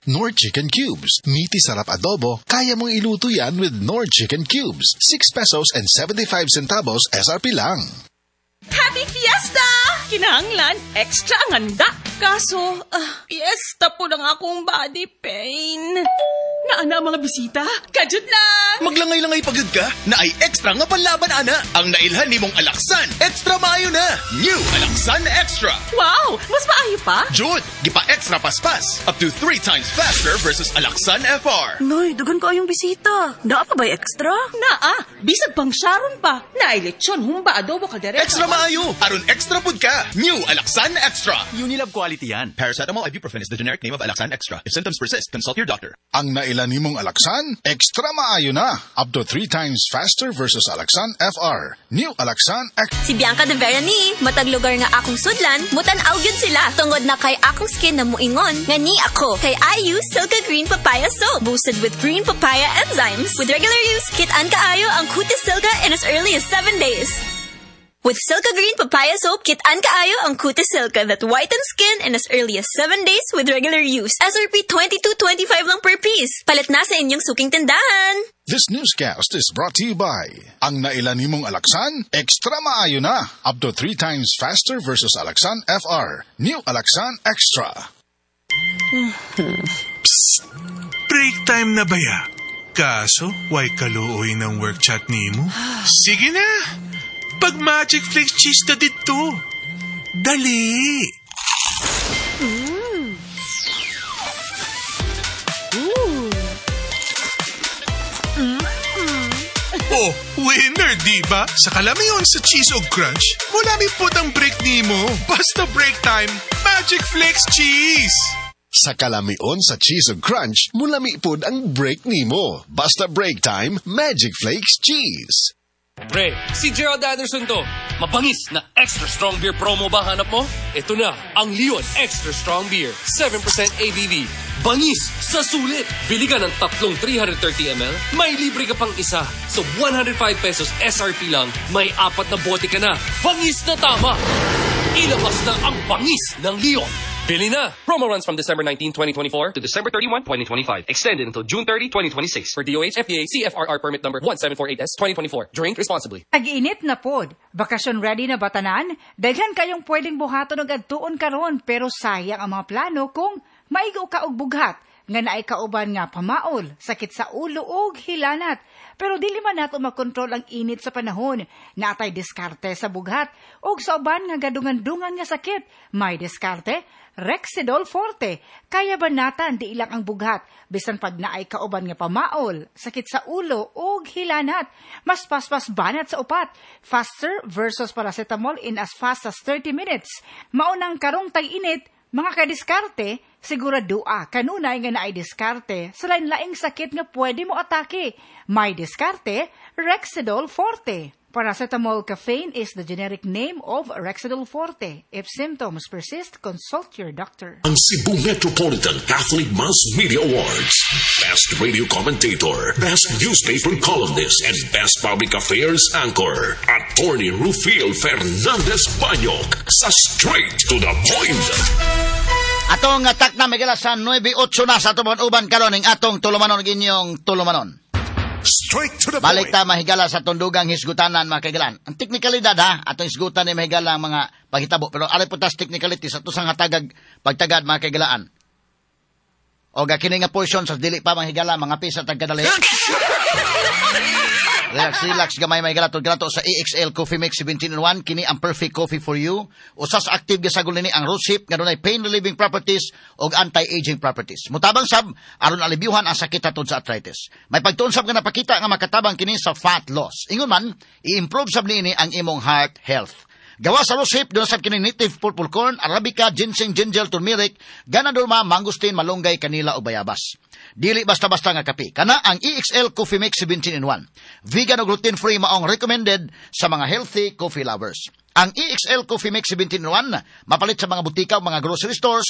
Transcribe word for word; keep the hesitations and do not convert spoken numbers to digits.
Knorr Chicken Cubes. Meaty sarap adobo, kaya mong iluto yan with Knorr Chicken Cubes. six pesos and seventy-five centavos S R P lang. Happy Fiesta! Kinahanglan, extra ang handa. Kaso, ah, fiesta po lang akong body pain. Naa na ang mga bisita? Kadyot lang! Maglangay-langay pa gyud ka naay extra nga panlaban ana. Ang nailhan nimong Alaxan, extra maayo na. New Alaxan Extra. Wow! Mas maayo pa? Jud, gipa extra paspas. Up to three times faster versus Alaxan F R. Noy, daghan kaayong bisita. Naa pa ba'y extra? Naa, bisag pang Sharon pa. Naay lechon, humba, adobo, kaldereta. Extra maayo. Aron extra pud ka. New Alaxan Extra. Unilab quality yan. Paracetamol ibuprofen is the generic name of Alaxan Extra. If symptoms persist, consult your doctor. Ang nailhan nimong Alaxan, extra maayo na. Up to three times faster versus Alaxan F R. New Alaxan Extra. Si Bianca de Vera ni, matag lugar nga akong sudlan, mutan-aw gyud sila. Tungod na kay akong skin na muingon, nga ni ako. Kay I use Silka Green Papaya Soap, boosted with green papaya enzymes. With regular use, kit-an kaayo ang kutis Silka in as early as seven days. With Silka Green Papaya Soap, kit-an kaayo ang kutis Silka that whitens skin in as early as seven days with regular use. S R P twenty-two twenty-five lang per piece. Palit na sa inyong suking tindahan. This newscast is brought to you by Ang nailhan nimong Alaxan, extra maayo na. Up to three times faster versus Alaxan F R. New Alaxan Extra. Break time na ba ya? Kaso, way kaluoy ng work chat nimo? Sige na! Pag Magic Flakes cheese na dito. Dali! Mm. Ooh. Mm. Oh, winner, di ba? Sa kalamiyon sa cheese og crunch, mulami pod ang break nimo. Basta break time, Magic Flakes cheese! Sa kalamion sa cheese ug crunch, mulami pod ang break nimo. Basta break time, Magic Flakes cheese. Pre, si Gerald Anderson to. Mabangis na extra strong beer promo ba hanap mo? Ito na, ang Leon Extra Strong Beer. seven percent A B V. Bangis sa sulit. Bili ka ng tatlong three hundred thirty milliliters, may libre ka pang isa. So one hundred five pesos S R P lang, may apat na bote ka na. Bangis na tama! Ilabas na ang bangis ng Leon. Bili na! Promo runs from December nineteen, twenty twenty-four to December thirty-one, twenty twenty-five. Extended until June thirty, twenty twenty-six. For D O H F D A C F R R permit number one seven four eight S twenty twenty-four. Drink responsibly. Tag-init na pod. Bakasyon ready na ba tanan? Daghan kayong pwedeng buhaton og adtuon karon, pero sayang ang mga plano kung maigo ka og bughat nga naay kauban nga pamaol, sakit sa ulo ug hilanat. Pero dili man nato makontrol ang init sa panahon. Naa tay diskarte sa bughat ug sa uban nga gadungan-dungan nga sakit. May diskarte, Rexidol Forte. Kaya banatan di ilang ang bughat bisan pag naay kauban nga pamaol, sakit sa ulo ug hilanat. Mas paspas banat sa upat. Faster versus paracetamol in as fast as thirty minutes. Maunang karong tag-init, mga kadiskarte, siguradoa kanunay nga naay diskarte sa lain-laing sakit nga pwede mo atake. May diskarte, Rexidol Forte. Paracetamol caffeine is the generic name of Rexidol Forte. If symptoms persist, consult your doctor. Ang Cebu Metropolitan Catholic Mass Media Awards. Best Radio Commentator, Best Newspaper Columnist, and Best Public Affairs Anchor. Attorney Rufil Fernandez Banyok sa Straight to the Point. Atong atak na mahigala sa nuwebe otso na sa atong uban karon ning atong tulumanon inyong tulumanon. Straight to the Balik point. Ta mahigala sa tundugang hisgutanan, mga kaigalan. Ang teknikalidad ha, atong hisgutan ni mahigala ang mga paghitabo. Pero ari po tas technicality sa tusang hatagag pagtagad, mga kaigalaan. O kini nga portion sa dili pa mahigala mga pisa tagkadali. Relax, relax gamay, mahigala tud kanato sa E X L Coffee Mix seventeen in one. Kini ang perfect coffee for you. Usa sa active gisagol nini ang rosehip nga dunay pain relieving properties ug anti-aging properties. Mutabang sab aron alibyuhan ang sakit hatod sa arthritis. May pagtuon sab nga napakita nga makatabang kini sa fat loss. Ingon man, i-improve sab niini ang imong heart health. Gawa sa rosehip, doon sa kini native purple corn, arabica, ginseng, ginger, turmeric, ganoderma, mangosteen, malunggay, kanila o bayabas. Dili basta-basta nga kape. Kana ang E X L Coffee Mix seventeen in one. Vegan o gluten-free, maong recommended sa mga healthy coffee lovers. Ang E X L Coffee Mix seventeen in one mapalit sa mga butika o mga grocery stores.